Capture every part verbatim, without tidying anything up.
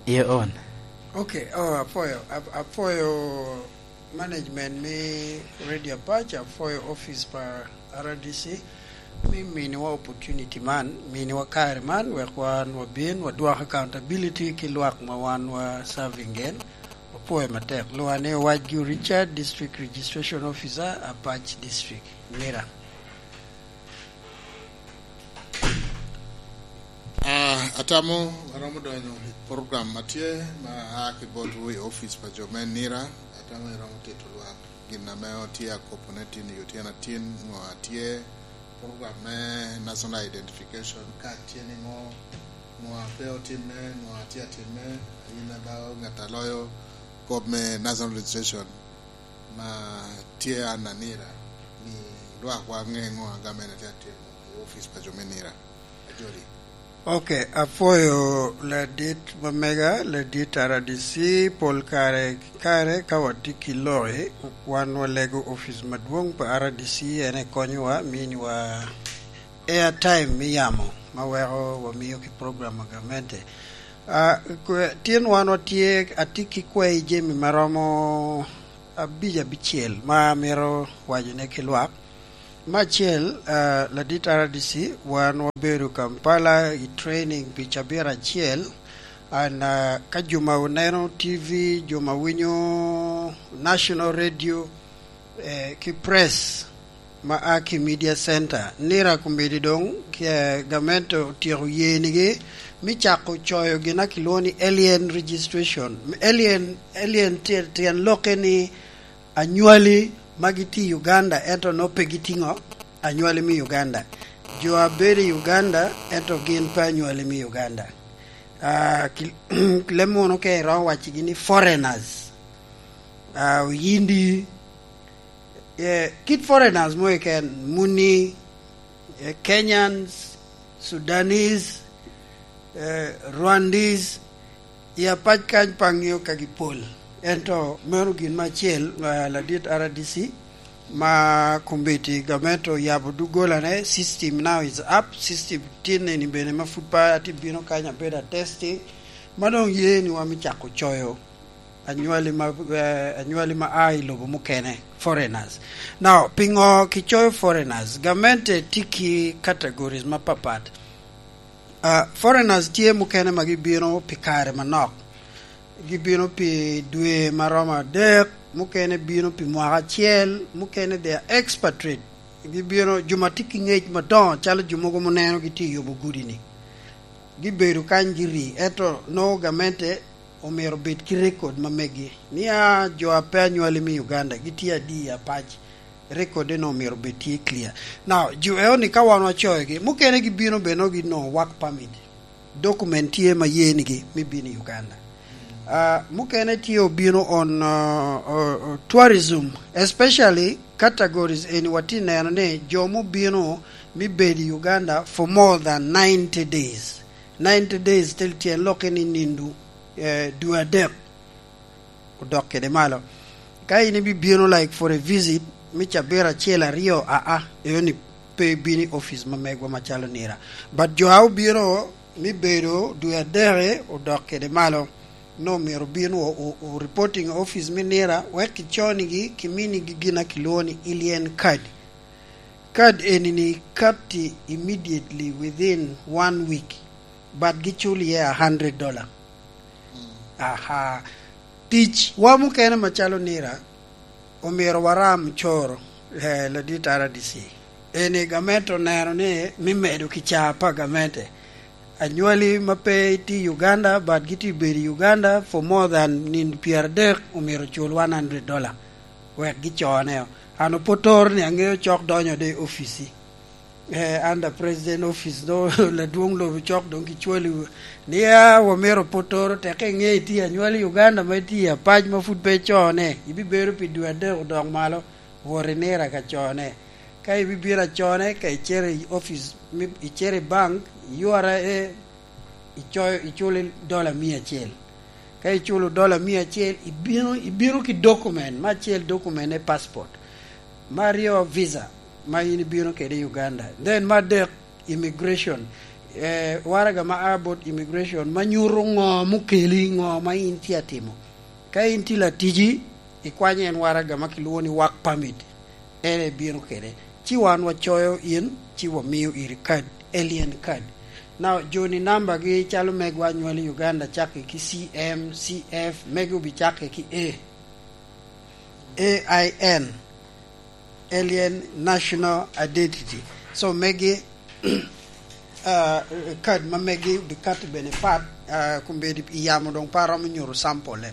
Your own. Okay, oh, apwoyo, ap-, apwoyo management me Radio Apac, apwoyo office pa R D C, me miniwa opportunity man, miniwa kare man, wek wan wabin, wadwok accountability ki lwak ma wan wa serving gen. Apwoyo matek. Lwonga ni Owacgi Richard, District Registration Officer, Apac District, Nira. Ah, atamo aromo donyo i program ma tye, ma a ki botwu i office pa jo me Nira. Atamo iromo tito lwak gin ame otye akobo ne tin i otyeno atin, ngo atye, program me national identification card tye ni ngo, ngo a pe otimme, ngo atye atimme, yin a ba ŋat a loyo kop me national registration ma tye an a Nira, ni lwak wa ŋe ngo a gamente tye atimo i office pa jo me Nira. Ajoli. Ok, apwoyo ladit ma mega, ladit R D C, pol kare ki kare ka watye ki loki, wan walego office madwong pa R D C, en ekonyowa, miniwa airtime me yamo, ma weko wamiyo ki program a gamente. Ah, kwe-, tin wan watye, atye ki kwai jami ma romo abic abicel ma amito wacone ki lwak. Me acel, ah, ladit R D C, wan wabedo Kampala i training pi cabit acel, and, ah, ka jo ma oneno T V, jo ma winyo national radio, eh, ki press ma a ki Media Center, Nira kombeddi doŋ, eh, gamente otyeko yenigi me cako coyo gin a kilwongo ni alien registration. Alien, alien tye-, tyen lokke ni anywali ma gitye i Uganda, ento nongo pe gitiŋo anywali me Uganda. Jo a bedo i Uganda, ento gin pe anywali me Uganda. Ah, ki-, leb munu ka iromo waccigi ni foreigners, ah, Oyindi, eh, kit foreigners mo keken, muni, eh, Kenyans, Sudanese, eh, Rwandese, i Apac kany pe aŋeo ka gipol. Ento meno gin me acel, eh, ladit R D C, ma kombeddi gamente oyabo doggolane, system now is up, system tin eni bene ma pud pe atye bino kany abedo atesti, ma doŋ ye ni wamito cako coyo anywali ma, eh, anywali ma a i lobo mukene, foreigners. Now, piŋo kicoyo foreigners? Gamente tye ki categories mapapat. Ah, foreigners tye mukene ma gibino pi kare manok, gibino pi dwe ma romo adek, mukene bino pi mwaka acel, mukene they are expatriate, gibino, jo ma tye ki ngec madoŋo, calo jo mogo muneno gitye i yobo gudi-ni. Gibedo kany giri, ento nongo gamente omyero obed ki record ma megi, ni a jo a pe anywali me Uganda gitye adi i Apac, record eno omyero obed tye clear. Now, jo eo ni ka wan wacoyogi, mukene gibino bene nongo ginongo work permit, document tye ma yenigi me bino i Uganda. Ah, mukene tye obino on, uh, uh, uh, tourism, especially categories eni watye neno ni jo mubino me bedo i Uganda for more than ninety days. Ninety days tel tyen lokke ni nindo, eh, dwe adek odok kede malo. Ka in ibibino, like, for a visit me cabit acel aryo, aa, eyo ni pe ibino i office ma megwa macalo Nira. But jo a obino me bedo dwe adek odok kede malo, no myero obin o, o, o reporting office me Nira, wek kiconigi, kiminigi gin a kilwongo ni alien card. Card eni ni katti immediately within one week, but gicul iye a hundred dollar. Aha. Tic wa mukene macalo Nira, omyero waram coro, eh, ladit R D C. Eni gamente oneno ni me medo kica pa gamente, anywali ma pe itye i Uganda, but gitye bedo i Uganda for more than nino pyeradek, omyero ocul one hundred dollar wek gicone. An opotoro ni aŋeo cok donyo de i ofici. Eh, under president office, do ladwong lobo cok doŋ kicwali ni, "Ah, wamito opotoro, tek iŋe itye anywali i Uganda ma itye i Apac ma pud pe icone, ibibedo pi dwe adek odok malo, wot i Nira ka cone. Ka ibibino acone, ka icito i office, mi-, icito i bank, iyora, eh, icoyo, iculo dola mia acel. Ka iculo dola mia acel, ibino, ibino ki document, me acel document e passport, me aryo visa ma in ibino kede i Uganda, then me adek immigration." eh, waraga ma a bot immigration ma nyuto ŋo mukeli, ŋo ma in tye atimo. Ka in tye latici, ikwanyo en waraga ma kilwongo ni work permit, en ebino kede. Ci wan wacoyo in, ci wamiyo iri kad, alien card. Now, joni nambagi calo megwa anywali Uganda, cakke ki C M, C F, megi obicakke ki A, A I N, Alien National Identity. So, megi, ah, kad ma megi obikato bene pat, ah, kombeddi i yamo doŋ pe aromo nyuto sample-le.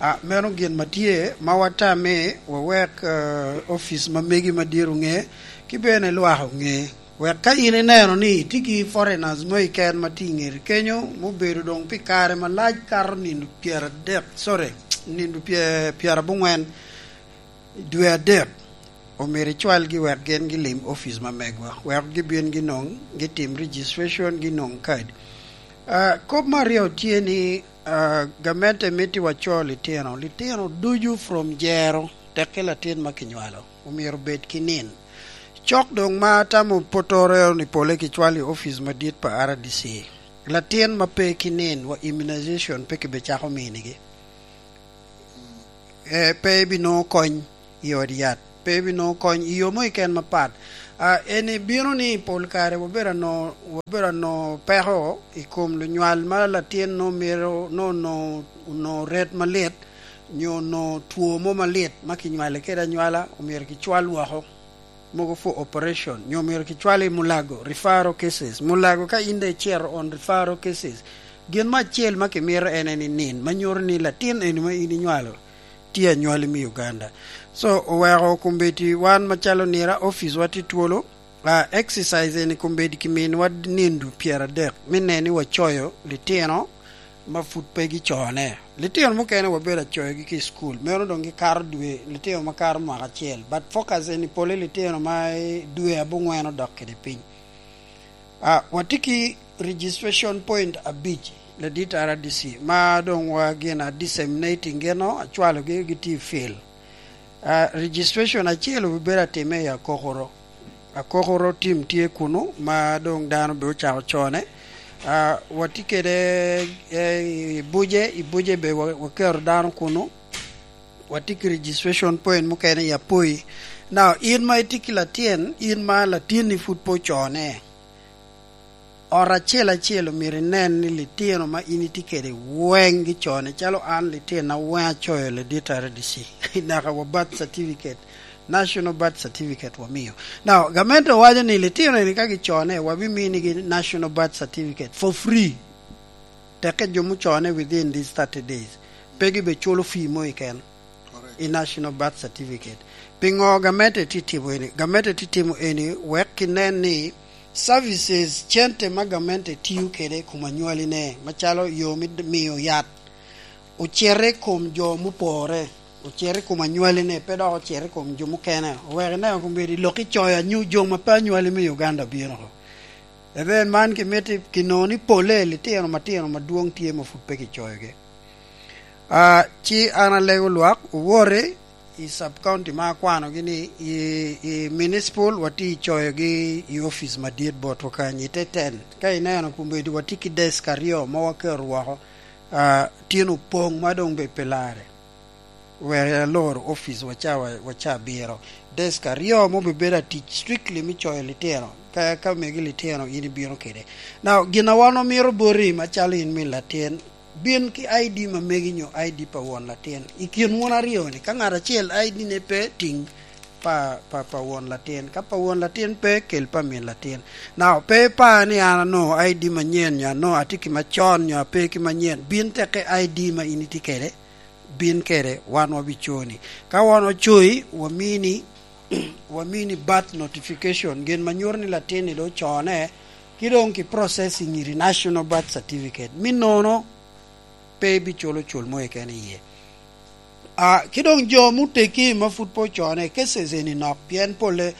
Ah, meno gin ma tye, ma watame wawek, ah, office ma megi madit oŋe, ki bene lwak oŋe. Wek ka in ineno ni itye ki foreigners mo keken ma tye i ŋeti kenyo, mubedo doŋ pi kare malac kato nino pyeradek, sorry, nino pye-, pyeraboŋwen dwe adek, omyero icwalgi wek gin gilim office ma megwa, wek gibin ginoŋ, gitim registration, ginoŋ kad. Ah, kop me aryo tye ni, ah, gamente mito waco litino, litino ducu from jero, tekke latin ma kinywalo, omyero bed ki nin. Cok doŋ ma atamo potoro ni pole kicwalo i office madit pa R D C. Latin ma pe ki nin wa immunization pe kibecako minigi. Eh, pe ibinwoŋo kony i ot yat, pe ibinwoŋo kony i yo mo keken mapat. Ah, eni bino ni pol kare wabedo ano-, wabedo ano peko i kom lunywal ma latin nwoŋo mito, nwoŋo, nwoŋo, nwoŋo ret malit, nyo nwoŋo two mo malit ma kinywale kede anywala, omyero kicwal woko. Mogo for operation, nyo myero kicwal i Mulago, referral cases. Mulago ka in de icito on referral cases, gin mo acel ma kimito en, en i nin, ma nyuto ni latin eni ma in inywalo tye anywali me Uganda. So, oweko kombeddi wan macalo nira, office wa tye twolo, ah, exercise eni kombeddi kiminwa nindo pyeradek, me neno ni wacoyo litino ma pud pe gicone. Litino mukene wabedo acoyogi ki i cukul, meno doŋ gikato dwe, litino ma kato mwaka acel. But focus eni pole litino ma i dwe abongwen odok kede piny. Ah, watye ki registration point abic, ladit R D C, ma doŋ wa gin a disseminating gino, acwalogi gitye i field. Ah, registration acel obibedo atime i Akokoro. Akokoro team tye kunu, ma doŋ dano be ocako cone. Ah, watye kede, eh, i Buje, i Buje be wa-, waketo dano kunu. Watye ki registration point mukene i Apoi. Now, in ma itye ki latin, in ma latinni pud pe ocone, ot acel acel omyero inen ni litino ma in itye kede weŋ gicone, calo an litinna weŋ acoyo ladit R D C. Naka wa birth certificate, national birth certificate wamio. Now, gamente owaco ni litino eni ka gicone, wabiminigi national birth certificate for free. Tekke jo mucone within these thirty days, pe gibe culo fee mo keken. Correct. I national birth certificate. Piŋo gamente tye timo eni? Gamente tye timo eni wek kinen ni services, cente ma gamente tio kede i kom anywali-ne, macalo yo me d-, miyo yat, ocito i kom jo mupore, ocito i kom anywali-ne, pe dok ocito i kom jo mukene. Owek ineno kombeddi lok icoyo anyu-, jo ma pe anywali me Uganda bino oko. Ebe man kimito kinoo ni pole litino matino madwoŋ tye ma pud pe kicoyogi. Ah, ci an alego lwak, owote i sub county ma akwanogi ni i, i municipal watye icoyogi i office madit botwa kany, i te ten. Ka ineno kombeddi watye ki desk aryo ma waketo woko, ah, tyen opoŋ ma doŋ be pe larre. Wek alor office waca, wa-, waca abiro. Desk aryo ma obibedo atic strictly me coyo litino. Ka, ka megi litino, in ibino kede. Now, gin a wan omito boti, macalo in min latin, bin ki I D ma megi nyo I D pa won latin. I kin wun aryo-ni, ka ngat acel I D-ne pe, tiŋ pa, pa, pa won latin. Ka pa won latin pe, kel pa min latin. Now, pe ipar ni an anongo I D manyen, nyo anongo atye ki macon, nyo ape ki manyen. Bin tekke I D ma in itye kede, bin kede, wan wabiconi. Ka wan ocoyi, wamini, wamini birth notification, gin ma nyuto ni latin-ni doŋ ocone, ki doŋ ki processing iri national birth certificate. Me nono, pe ibiculo cul mo keken iye. Ah, ki doŋ jo muteggi ma pud pe ocone, cases eni nok, pien pole,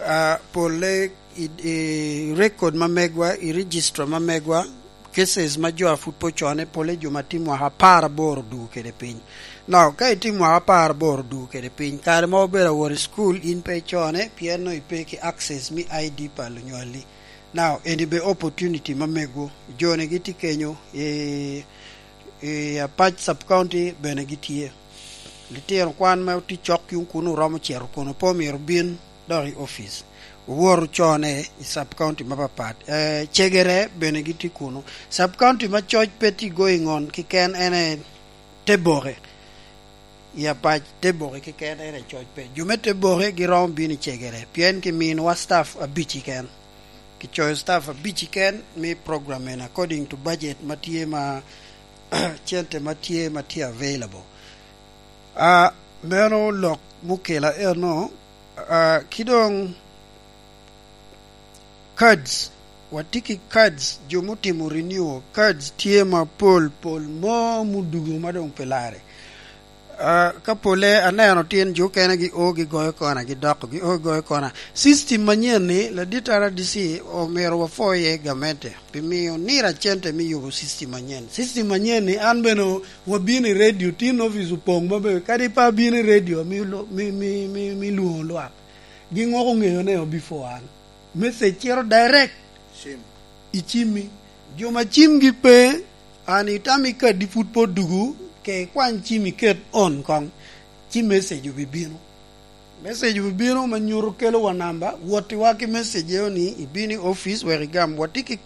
ah, pole i, i record ma megwa, i registrar ma megwa, cases ma jo a pud pe ocone, pole jo ma tye mwaka apar aboro duu kede piny. Now, ka itye mwaka apar aboro duu kede piny, kare ma obedo awot i school, in pe icone, pien nongo ipe ki access me I D pa lunywali. Now, eni be opportunity ma megwu. Joni gitye kenyo, i, i Apac Sub County bene gitye. Litino kwan ma otye cok yung kuno oromo cito kuno, pe omyero bin dok i office. Owor ocone i Sub County mapapat. Eh, cegere bene gitye kuno. Sub County ma coc pe tye going on keken en e Teboke. I Apac, Teboke keken en e coc pe. Jo me Teboke giromo bino i cegere, pien kiminowa staff abic keken. Kicoyo staff abic keken me program en according to budget ma tye ma, cente ma tye, ma tye available. Ah, meno lok mukela eno, ah, ki doŋ cards, watye ki cards, jo mutimo renew, cards tye mapol pol mo mudugo ma doŋ pi lare. Ah, ka pole aneno tin jo okene gi o gigoyo kona, gidoko gi o gigoyo kona. System manyen ni, ladit R D C omyero wapwo iye gamente, pi miyo nira cente me yubo system manyen. System manyen ni, an bene wabino i radio, tin office opoŋ maber, kadi pe abino i radio, mi lo-, mi, mi, mi, mi lwoŋo lwak. Gin wok oŋeyo ne before an. Message cito direct i cimmi. Jo ma cimgi pe, an itamo i kadi pud pe odugu, ke ikwany cim iket on koŋ, ci message obibino. Message obibino ma nyuto kelowa namba, wottiwa ki message eo ni ibino i office wek igam. Watye ki